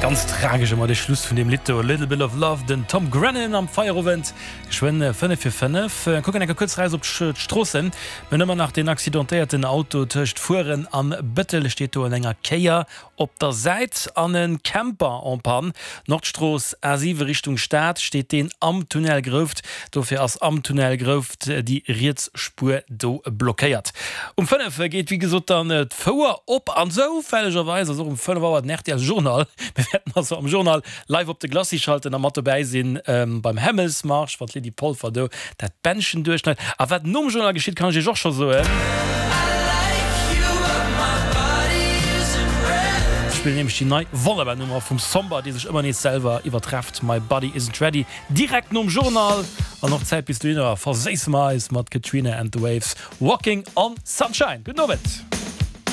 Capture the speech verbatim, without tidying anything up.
Ganz tragesch ëmmer de Schluss vun deem Lidd do, A Little Bit of Love, den Tom Grennan am Feierowend, geschwënn fënnef vir fënnef. Kucken eng Kéier kuerz eraus op d'Stroossen. Mir hunn ëmmer nach deen accidentéierten Auto tëscht Fueren an Bëttel, steet do an enger Kéier op der Säit an e Camper en panne. Nordstrooss A siwe Richtung Stad steet deen am Tunnel Grouft. Dofir ass am Tunnel Grouft déi riets Spuer do blockéiert. Um fënnef geet wéi gesot dann d'Fouer op an zoufällegerweis ass och um fënnef Auer den R T L Journal. Mir wäerten also am Journal live op de Glacis schalten a mat dobäi sinn beim Hämmelsmarsch, wann d'Lydie Polfer do dat Bändchen duerchschneit. A wat nom Journal geschitt, kann ech iech och scho soen. Ech spillen nämlech déi nei wonnerbar Nummer vum Somber, déi sech ëmmer nees selwer iwwertrefft, My Body Isn't Ready, direkt nom Journal. An och d'Zäit bis dohinner verséisse mer eis mat Katrina and the Waves, Walking on Sunshine. Gudden Owend.